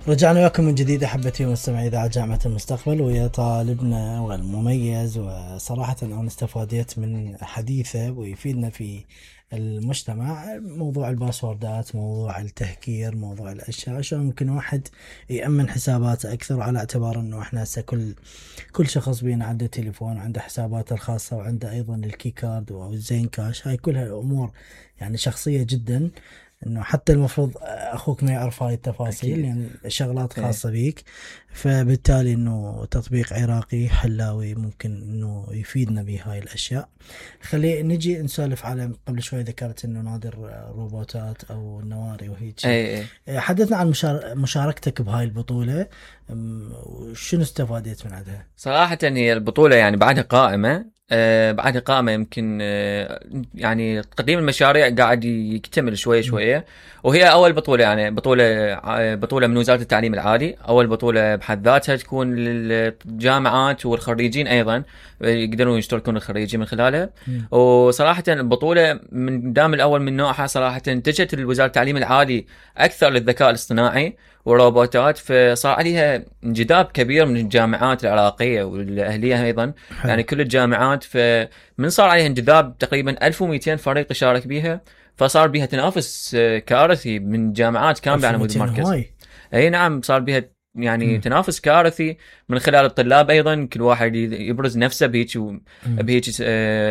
رجعنا وياكم من جديد أحبتي ومستمعي إذاعة جامعة المستقبل ويا طالبنا والمميز، وصراحة أنا استفادت من حديثه ويفيدنا في المجتمع. موضوع الباسوردات، موضوع التهكير، موضوع الأشياء، شلون ممكن واحد يأمن حساباته أكثر، على اعتبار أنه إحنا هسه كل شخص بينا عنده تليفون، عنده حساباته الخاصة، وعنده أيضا الكي كارد والزين كاش. هاي كلها أمور يعني شخصية جدا، انه حتى المفروض اخوك ما يعرف هاي التفاصيل، يعني شغلات خاصة بيك. فبالتالي انه تطبيق عراقي حلاوي ممكن انه يفيدنا بهاي الاشياء. خلي نجي نسولف على، قبل شوي ذكرت انه نادر روبوتات او النواري وهيك. حدثنا عن مشاركتك بهاي البطولة، شنو استفادت من عندها؟ صراحة هي البطولة يعني بعدها قائمة، بعدها قائمة يمكن يعني تقديم المشاريع قاعد يكتمل شوية شوية. وهي أول بطولة، يعني بطولة من وزارة التعليم العالي، أول بطولة بحد ذاتها تكون للجامعات والخريجين أيضا يقدرون يشتركون الخريجين من خلالها. وصراحة البطولة من دام الأول من نوعها، صراحة اتجهت وزارة التعليم العالي أكثر للذكاء الاصطناعي والروبوتات، فصار عليها انجذاب كبير من الجامعات العراقية والأهلية أيضا. يعني كل الجامعات، فمن صار عليها انجذاب تقريبا 1200 فريق يشارك بيها، فصار بيها تنافس كارثي من جامعات كاملة على مود المركز. أي نعم، صار بيها يعني تنافس كارثي من خلال الطلاب أيضا، كل واحد يبرز نفسه بهيك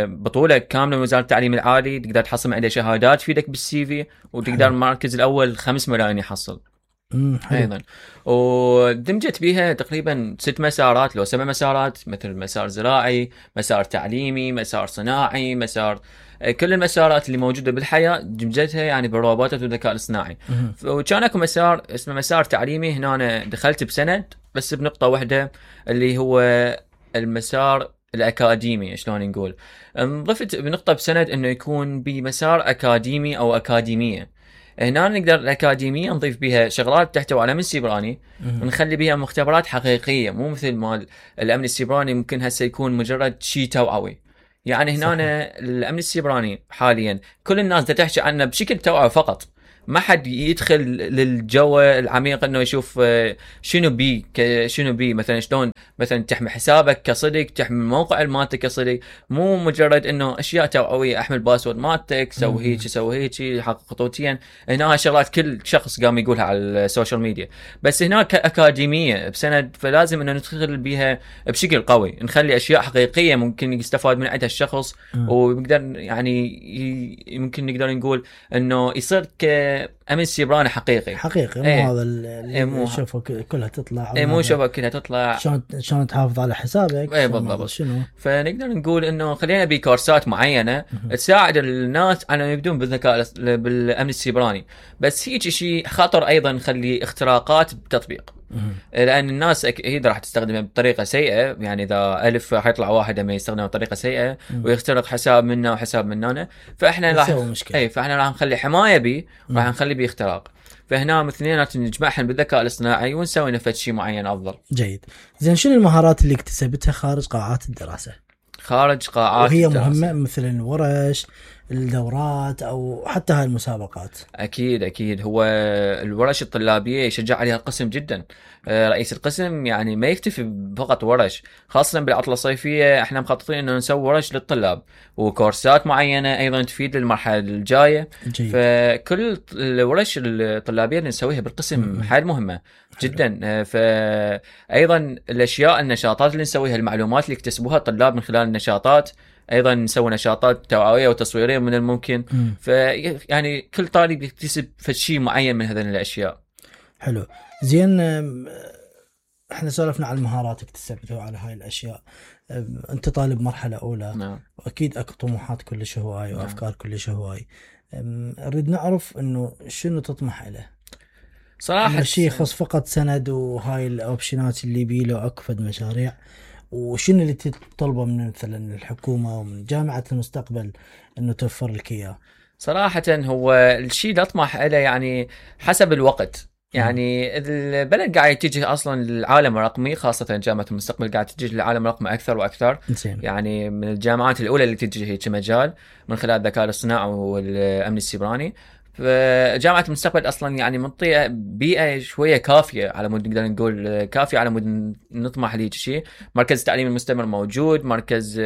بطولة كاملة من وزارة التعليم العالي. تقدر تحصل عليه شهادات تفيدك بالسي في، وتقدر المركز الأول 5 ملايين يحصل ايضا. ودمجت بيها تقريبا 6 مسارات لو 7 مسارات، مثل مسار زراعي، مسار تعليمي، مسار صناعي، مسار كل المسارات اللي موجوده بالحياه دمجتها يعني بالروبوتات والذكاء الاصطناعي. وكان اكو مسار اسمه مسار تعليمي، هنا أنا دخلت بسند بس بنقطه واحده، اللي هو المسار الأكاديمي. شلون نقول، ضفت بنقطة بسند إنه يكون بمسار أكاديمي أو أكاديمية. هنا نقدر الأكاديمية نضيف بها شغلات تحتوي على أمن سيبراني، ونخلي بها مختبرات حقيقية، مو مثل مال الأمن السيبراني ممكن هسه يكون مجرد شيء توعوي. يعني هنا الأمن السيبراني حاليا كل الناس دا تحكي عنه بشكل توعوي فقط، ما حد يدخل للجو العميق انه يشوف شنو بي مثلا شلون مثلا تحمي حسابك كصدق، تحمي موقع مالتك كصدق، مو مجرد انه اشياء توعويه، احمل باسورد مالتك، سوي هيك حق خطوتيا. هنا شغلات كل شخص قام يقولها على السوشيال ميديا، بس هناك اكاديميه بسند، فلازم انه ندخل بيها بشكل قوي، نخلي اشياء حقيقيه ممكن يستفاد من عندها الشخص، ويقدر يعني ممكن نقدر نقول انه يصير أمن سيبراني حقيقي مو هذا اللي نشوفه كلها تطلع، مو شوفه كلها تطلع، شلون تحافظ على حسابك. بالضبط. شنو فنقدر نقول انه خلينا بكورسات معينه تساعد الناس على يبدون بالذكاء بالامن السيبراني، بس هيك شيء خطر ايضا نخلي اختراقات بتطبيق، لان الناس اكيد راح تستخدمها بطريقه سيئه. يعني اذا 1000 راح يطلع واحد ما يستخدمها بطريقه سيئه ويخترق حساب منا وحساب مننا، فاحنا راح نخلي حمايه به، راح نخلي به اختراق. فهنا مثلينات نجمعهم بالذكاء الاصطناعي ونسوي نفس شيء معين افضل. جيد. زين، شنو المهارات اللي اكتسبتها خارج قاعات الدراسه؟ خارج قاعات وهي الدراسة مهمه، مثل الورش، الدورات، او حتى هاي المسابقات؟ اكيد هو الورش الطلابيه يشجع عليها القسم جدا. رئيس القسم يعني ما يكتفي فقط ورش، خاصه بالعطله الصيفيه احنا مخططين انه نسوي ورش للطلاب وكورسات معينه ايضا تفيد المرحله الجايه. جيد. فكل الورش الطلابيه اللي نسويها بالقسم حيل مهمه جدا. فايضا الاشياء النشاطات اللي نسويها، المعلومات اللي يكتسبوها الطلاب من خلال النشاطات، ايضا نسوي نشاطات توعويه وتصويريه من الممكن. يعني كل طالب يكتسب شيء معين من هذه الاشياء. حلو. زين، احنا سولفنا عن المهارات اكتسبتها على هاي الاشياء. انت طالب مرحله اولى. نعم. واكيد اكو طموحات كلش هواي وافكار كلش هواي. نريد نعرف انه شنو تطمح له صراحه. شيء يخص فقط سند وهاي الاوبشنات اللي بيله اكفد مشاريع، وشنو اللي تطلبه من مثلا الحكومه ومن جامعه المستقبل انه توفر لك اياه؟ صراحه هو الشيء اللي اطمح له يعني حسب الوقت. يعني البلد قاعد يتجه اصلا للعالم الرقمي، خاصه جامعه المستقبل قاعد تتجه للعالم الرقمي اكثر واكثر. يعني من الجامعات الاولى اللي تتجه هيك مجال من خلال الذكاء الاصطناعي والامن السيبراني. فجامعه المستقبل اصلا يعني منطقه بيئه شويه كافيه على مود نقدر نقول كافيه على مود نطمح لهيك شيء. مركز التعليم المستمر موجود، مركز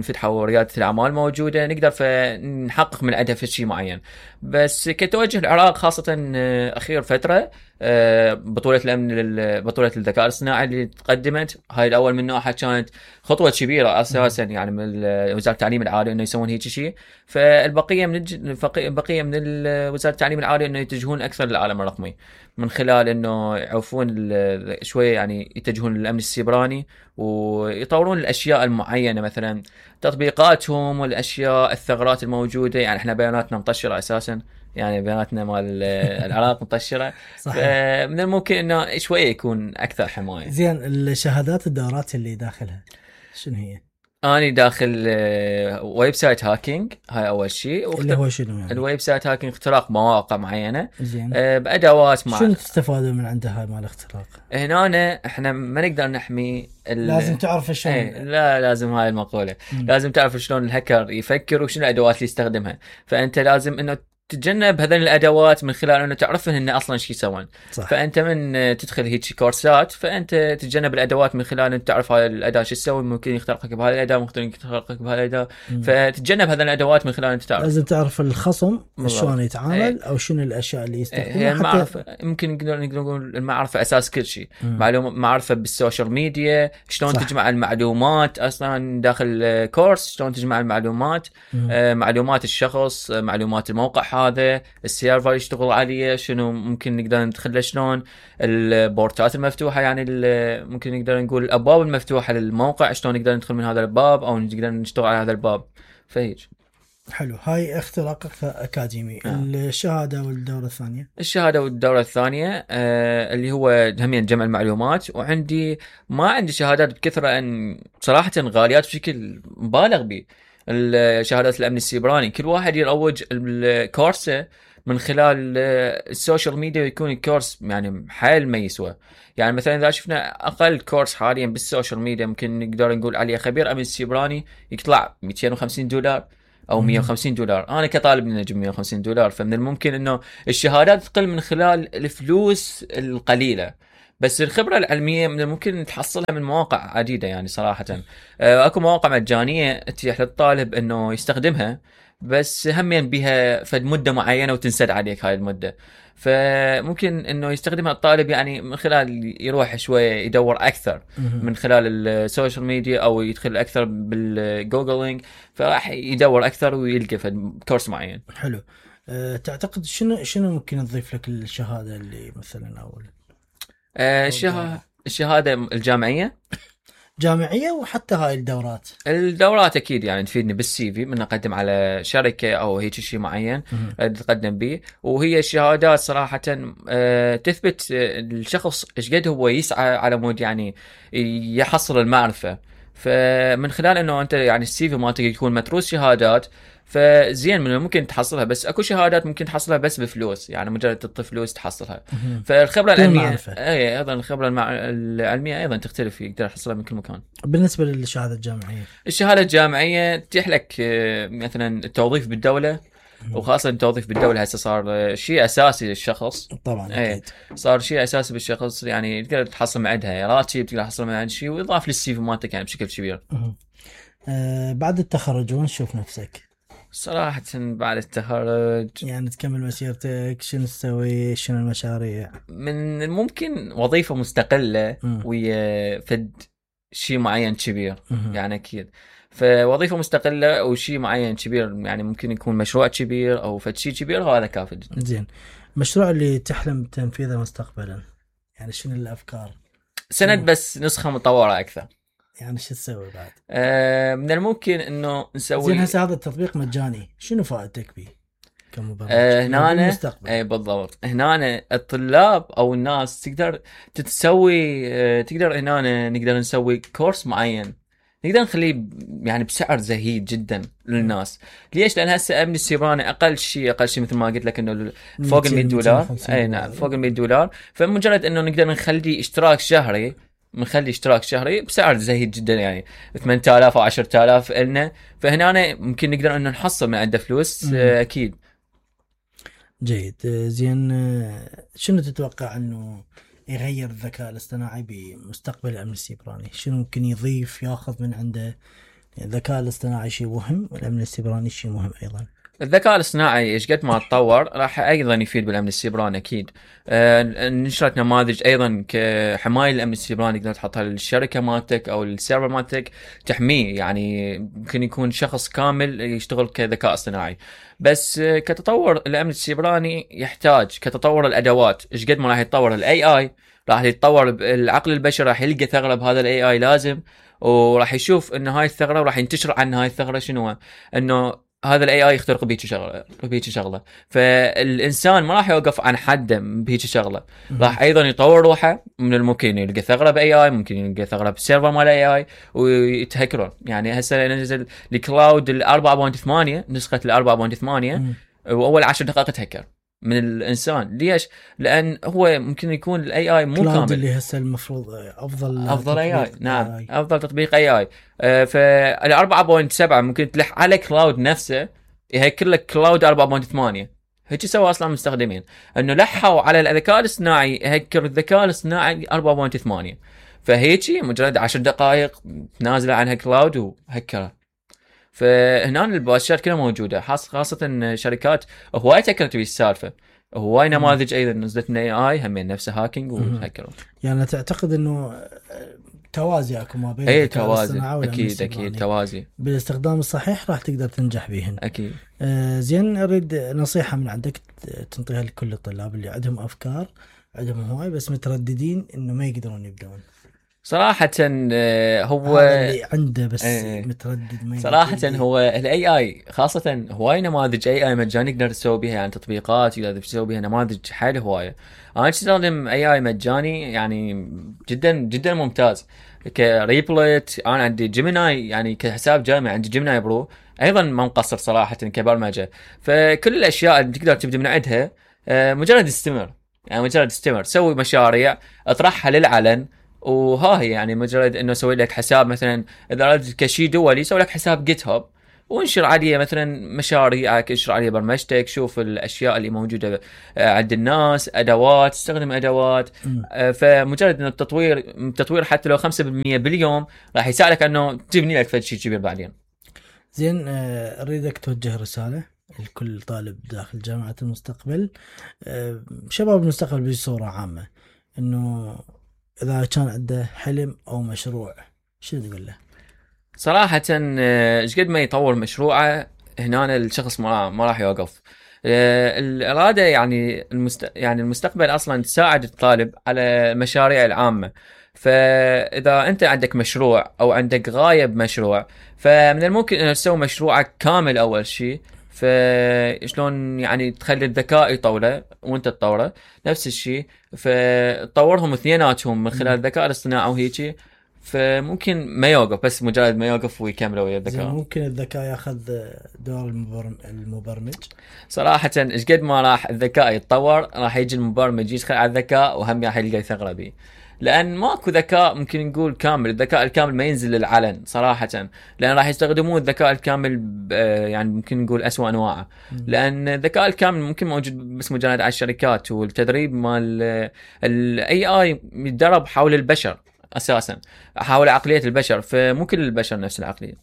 فتح ورياده الاعمال موجوده، نقدر فنحقق من عندها في شيء معين. بس كتوجه العراق خاصه اخير فتره بطولة الأمن بطولة الذكاء الاصطناعي اللي تقدمت، هاي الأول من نوعها كانت خطوة كبيرة أساسا يعني من وزارة التعليم العالي إنه يسوون هيك شيء. فالبقية من بقية من وزارة التعليم العالي إنه يتجهون أكثر للعالم الرقمي من خلال إنه يعوفون شوية يعني يتجهون للأمن السيبراني ويطورون الأشياء المعينة، مثلا تطبيقاتهم والأشياء الثغرات الموجودة. يعني إحنا بياناتنا مطشرة أساسا، يعني بياناتنا مال العراق مطشرة. من الممكن انه شويه يكون اكثر حمايه. زين، الشهادات الدورات اللي داخلها شنو هي؟ اني داخل ويب سايت هاكينج، هاي اول شيء. اللي هو شنو يعني؟ الويب سايت هاكينج اختراق مواقع معينه. زين. بادوات شنو تستفادوا من عندها هاي مال الاختراق؟ هنا احنا ما نقدر نحمي لازم تعرف شلون. لا لازم، هاي المقوله لازم تعرف شلون الهكر يفكر وشنو الادوات اللي يستخدمها. فانت لازم انه تتجنب هذين الادوات من خلال انه تعرفن ان اصلا شو يسوون. فانت من تدخل هيك كورسات فانت تتجنب الادوات من خلال ان تعرف هاي الاداه شو تسوي، ممكن يخترقك بهاي الاداه، ممكن يخترقك بهاي الاداه. فتتجنب هذين الادوات من خلال انت تعرف. لازم تعرف الخصم شلون يتعامل او شنو الاشياء اللي يستخدمها. هي المعرفه ممكن نقدر نقول المعرفه اساس كل شيء. معرفه بالسوشيال ميديا، شلون تجمع المعلومات اصلا داخل كورس، شلون تجمع المعلومات، معلومات الشخص، معلومات الموقع هذا، السيرفر يشتغل عليه شنو ممكن نقدر ندخله، شلون البورتات المفتوحه يعني ممكن نقدر نقول الابواب المفتوحه للموقع شلون نقدر ندخل من هذا الباب او نقدر نشتغل على هذا الباب. فهيج حلو. هاي اختراق اكاديمي. الشهاده والدوره الثانيه؟ الشهاده والدوره الثانيه اللي هو همين جمع المعلومات. وعندي ما عندي شهادات بكثره ان صراحه غاليات بشكل مبالغ به. الشهادات الامن السيبراني كل واحد يروج الكورسه من خلال السوشيال ميديا ويكون الكورس يعني حيل ما يسوى. يعني مثلا اذا شفنا اقل كورس حاليا بالسوشيال ميديا ممكن نقدر نقول عليه خبير امن سيبراني يطلع $250 او $150. انا كطالب نجم $150. فمن الممكن انه الشهادات تقل من خلال الفلوس القليله، بس الخبرة العلمية من الممكن تحصلها من مواقع عديدة. يعني صراحة اكو مواقع مجانية تتيح للطالب انه يستخدمها، بس همين بها فد مدة معينة وتنسد عليك هاي المدة. فممكن انه يستخدمها الطالب يعني من خلال يروح شوية يدور اكثر من خلال السوشيال ميديا او يدخل اكثر بالجوجلينج، فراح يدور اكثر ويلقى فد كورس معين. حلو. تعتقد شنو ممكن نضيف لك الشهادة اللي مثلا اول الشهادة الجامعية وحتى هاي الدورات أكيد يعني تفيدني بالسي في من أقدم على شركة أو هيك شيء معين تقدم به. وهي الشهادات صراحة تثبت الشخص إيش قد هو يسعى على مود يعني يحصل المعرفة. فمن خلال إنه أنت يعني السي في مالتك يكون متروس شهادات، فزين من ممكن تحصلها. بس اكو شهادات ممكن تحصلها بس بفلوس، يعني مجرد تعطي فلوس تحصلها. فالخبره العلميه ايضا الخبره العلميه ايضا تختلف، يقدر يحصلها من كل مكان. بالنسبه للشهاده الجامعيه، الشهاده الجامعيه تتيح لك مثلا التوظيف بالدوله، وخاصه التوظيف بالدوله هسه صار شيء اساسي للشخص. طبعا اكيد صار شيء اساسي بالشخص، يعني تقدر تحصل من عندها راتب، تقدر تحصل من عند شيء ويضاف للسي في مالتك يعني بشكل كبير. بعد التخرج وين تشوف نفسك؟ صراحة بعد التخرج يعني تكمل مسيرتك، شنو تسوي، شنو المشاريع؟ من الممكن وظيفة مستقلة ويا فد شيء معين كبير يعني أكيد. فوظيفة مستقلة وشيء معين كبير، يعني ممكن يكون مشروع كبير أو فد شيء كبير، هذا كافي جدا. زين، المشروع اللي تحلم تنفيذه مستقبلا يعني شنو الأفكار؟ سند بس نسخة مطورة أكثر. يعني شو تسوي بعد؟ من الممكن انه نسوي. زين هسه هذا التطبيق مجاني، شنو فائدتك به كمبرمج؟ هنا اي بالضبط، هنا الطلاب او الناس تقدر تسوي تقدر هنا نقدر نسوي كورس معين، نقدر نخليه يعني بسعر زهيد جدا للناس. ليش؟ لان هسه امن السيبراني اقل شيء مثل ما قلت لك انه فوق $100. اي نعم فوق $100. فمجرد انه نقدر نخلي اشتراك شهري، بنخلي اشتراك شهري بسعر زهيد جدا، يعني 8000 او 10000 لنا. فهنا ممكن نقدر انه نحصل من عنده فلوس اكيد. جيد. زين، شنو تتوقع انه يغير الذكاء الاصطناعي بمستقبل الامن السيبراني؟ شنو ممكن يضيف ياخذ من عنده؟ الذكاء الاصطناعي شيء مهم والامن السيبراني شيء مهم ايضا. الذكاء الاصطناعي ايش قد ما تطور راح ايضا يفيد بالامن السيبراني اكيد. نشرت نماذج ايضا كحمايه الامن السيبراني تقدر تحطها للشركه مالتك او السيرفر مالتك تحميه، يعني ممكن يكون شخص كامل يشتغل كذكاء اصطناعي. بس كتطور الامن السيبراني يحتاج كتطور الادوات، ايش قد ما راح يتطور الاي اي راح يتطور العقل البشري، راح يلقى ثغره بهذا الاي اي لازم، وراح يشوف انه هاي الثغره وراح ينتشر عن هاي الثغره شنو، انه هذا الاي اي يخترق بهيك شغله فالانسان ما راح يوقف عن حده بهيك شغله، راح ايضا يطور روحه. من الممكن يلقى ثغره باي اي، ممكن يلقى ثغره بالسيرفر مال اي اي ويتهكرون. يعني هسه نزل الكلاود 4.8 نسخه 4.8 واول 10 دقائق تهكر من الانسان. ليش؟ لان هو ممكن يكون الاي اي مو كامل، اللي هسه المفروض افضل اي اي. نعم، افضل تطبيق اي اي. فال 4.7 ممكن تلح على كلاود نفسه يهكر لك كلاود 4.8. هيك سوى اصلا المستخدمين، انه لحوا على الذكاء الاصطناعي يهكر الذكاء الاصطناعي 4.8. فهيك مجرد 10 دقائق نازله عنها كلاود وهكرها. فهنا البواشات كلها موجوده، خاصه شركات هواي تكرت بالسالفه، هواي نماذج ايضا نزلت من اي اي هم نفسه هاكينج وهكروا. يعني تعتقد انه توازي اكو ما بين توازي؟ اكيد توازي بالاستخدام الصحيح راح تقدر تنجح بهن اكيد. زين، اريد نصيحه من عندك تنطيها لكل الطلاب اللي عندهم افكار، عندهم هواي بس مترددين انه ما يقدرون يبدون. صراحة هو اللي عنده بس متردد ما صراحة هو الاي اي خاصة هواي نماذج اي اي مجاني نقدر نسوي بها، يعني تطبيقات تقدر تسوي بها نماذج حيل هواية. انا استخدم اي اي مجاني يعني جدا جدا ممتاز كريبلت. انا عندي جيميناي يعني كحساب جامعي، عندي جيميناي برو ايضا ما مقصر صراحة كبرمجة. فكل الاشياء اللي تقدر تبدأ من عندها مجرد استمر، يعني مجرد استمر سوي مشاريع اطرحها للعلن، وها هي يعني مجرد انه اسوي لك حساب مثلا اذا اردت كشي دولي سوي لك حساب جيت هاب وانشر عليه مثلا مشاريعك، انشر عليه برمجتك، شوف الاشياء اللي موجوده عند الناس، ادوات، استخدم ادوات. فمجرد انه التطوير حتى لو 5% باليوم راح يساعدك انه تبني لك شيء كبير بعدين. زين، اريدك توجه رساله لكل طالب داخل جامعه المستقبل، شباب المستقبل بصوره عامه، انه إذا كان عنده حلم أو مشروع شو تقول له؟ صراحة إيش قد ما يطور مشروعه هنا الشخص ما راح يوقف. الإرادة يعني المستقبل أصلا تساعد الطالب على المشاريع العامة. فإذا أنت عندك مشروع أو عندك غاية بمشروع فمن الممكن أن تسوي مشروعك كامل أول شيء. فشلون يعني تخلي الذكاء يطوره وانت تطوره نفس الشيء، فتطورهم اثنيناتهم من خلال الذكاء الاصطناعي وهيجي. فممكن ما يوقف، بس مجرد ما يوقف ويكملوا ويا الذكاء. ممكن الذكاء ياخذ دور المبرمج. صراحة ايش قد ما راح الذكاء يتطور راح يجي المبرمج يدخل على الذكاء وهم راح يلقى ثغرة به، لأن ماكو ذكاء ممكن نقول كامل. الذكاء الكامل ما ينزل للعلن صراحة، لأن راح يستخدمون الذكاء الكامل يعني ممكن نقول أسوأ أنواعه. لأن الذكاء الكامل ممكن موجود بس مجرد على الشركات، والتدريب مال الاي اي يتدرب حول البشر أساسا، حول عقلية البشر، فمو كل البشر نفس العقلية.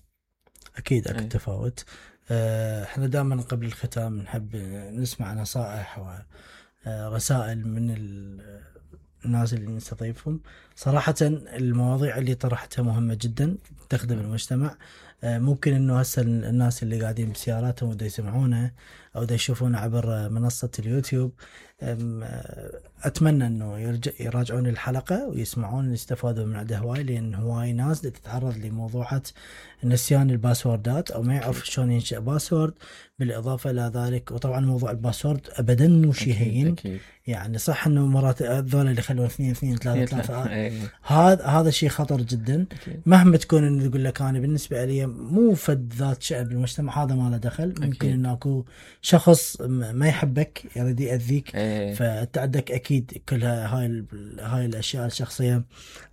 أكيد تفاوت. احنا دائما قبل الختام نحب نسمع نصائح ورسائل من الناس اللي نستضيفهم. صراحة المواضيع اللي طرحتها مهمة جدا تخدم المجتمع. ممكن انه هسه الناس اللي قاعدين بسياراتهم ودا يسمعونه او دا يشوفونه عبر منصة اليوتيوب، اتمنى انه يراجعون الحلقة ويسمعون يستفادوا من عندها هواي، لان هواي ناس تتعرض لموضوعات نسيان الباسوردات او ما يعرف شلون ينشئ باسورد. بالاضافة الى ذلك وطبعا موضوع الباسورد ابدا مو شيء هين، يعني صح انه مرات ذول اللي يخلون 2 2 3 3 هذا شيء خطر جدا. مهما تكون انه يقول لك انا بالنسبة لي مو فد ذات شأن بالمجتمع، هذا ما له دخل. ممكن انه اكو شخص ما يحبك يريد يأذيك، فانت عندك اكيد كلها هاي الاشياء الشخصيه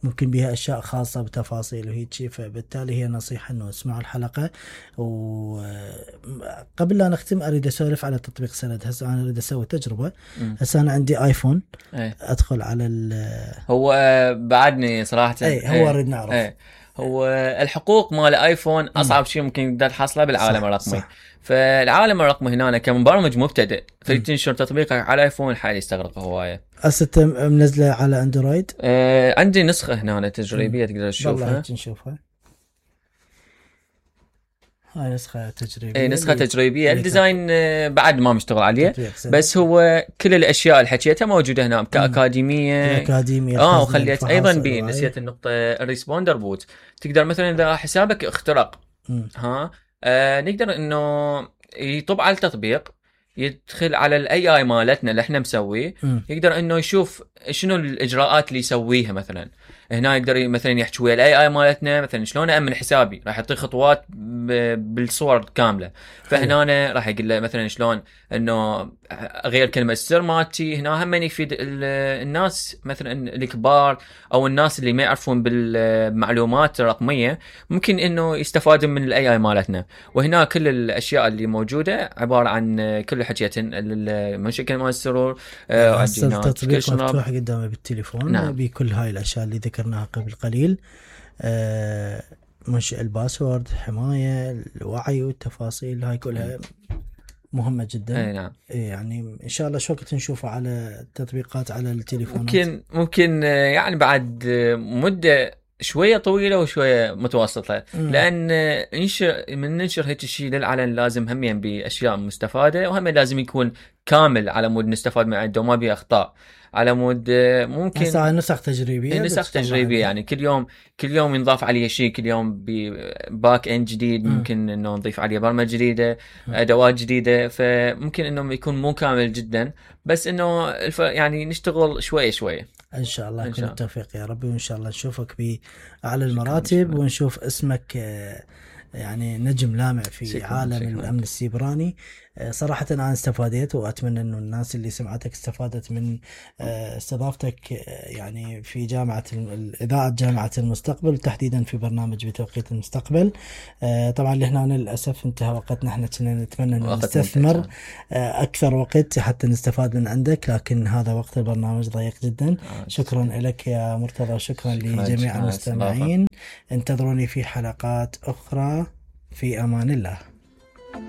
ممكن بها اشياء خاصه بتفاصيل وهيك شيء. فبالتالي هي نصيحه انه اسمعوا الحلقه. وقبل لا نختم اريد اسولف على تطبيق سند. هسه انا اريد اسوي تجربه. هسه انا عندي ايفون، ادخل على هو بعدني صراحه هو اريد نعرف هو الحقوق مال ايفون اصعب شيء ممكن تقدر تحصله بالعالم الرقمي. فالعالم الرقمي هنا كمبرمج مبتدئ تريد تنشر تطبيقك على ايفون حالي يستغرق هوايه. هسه منزله على اندرويد؟ عندي نسخه هنا تجريبيه تقدر تشوفها. والله نشوفها. هاي نسخة تجريبية. نسخة تجريبية. الديزاين بعد ما مشتغل عليه، بس هو كل الأشياء اللي حكيتها موجودة هنا كأكاديمية. وخليت أيضا نسيت النقطة الريسبوندر بوت. تقدر مثلا إذا حسابك اخترق نقدر إنه يطب على التطبيق، يدخل على الاي اي مالتنا اللي احنا مسويه، يقدر انه يشوف شنو الاجراءات اللي يسويها. مثلا هنا يقدر مثلا يحكي ويا الاي اي مالتنا مثلا شلون امن حسابي، راح يعطيه خطوات بالصور كامله. فهنا راح يقول له مثلا شلون انه غير كلمه السر مالتي. هنا هم يفيد الناس مثلا الكبار او الناس اللي ما يعرفون بالمعلومات الرقميه، ممكن انه يستفادون من الاي اي مالتنا. وهنا كل الاشياء اللي موجوده عباره عن كل حكيتين المشكله مال السرور. التطبيق مفتوح قدامي بالتليفون. نعم. بكل هاي الاشياء اللي ذكرناها قبل قليل، منشئ الباسورد، حمايه، الوعي والتفاصيل، هاي كلها مهمه جدا. نعم. يعني ان شاء الله شو وقت نشوفه على التطبيقات على التليفونات؟ ممكن يعني بعد مده شويه طويله وشويه متوسطه. لان ننشر هيك شيء للعلن لازم همين باشياء مستفاده، وهم لازم يكون كامل على مود نستفاد من عنده وما بيه اخطاء. على مود ممكن نسخ تجريبيه. نسخ تجريبيه يعني كل يوم ينضاف عليه شيء، كل يوم باك اند جديد. ممكن انه نضيف عليه برمجه جديده، ادوات جديده. فممكن انه يكون مو كامل جدا، بس انه يعني نشتغل شويه ان شاء الله. كل التوفيق يا ربي، وان شاء الله نشوفك باعلى المراتب، ونشوف اسمك يعني نجم لامع في عالم الأمن السيبراني. صراحة أنا استفادت، وأتمنى أنه الناس اللي سمعتك استفادت من استضافتك يعني في إذاعة جامعة المستقبل، تحديدا في برنامج بتوقيت المستقبل. طبعا لهنا للأسف انتهى وقتنا. احنا كنا نتمنى أن نستثمر أكثر وقت حتى نستفاد من عندك، لكن هذا وقت البرنامج ضيق جدا. شكرا لك يا مرتضى، وشكرا لجميع المستمعين. انتظروني في حلقات أخرى. في أمان الله.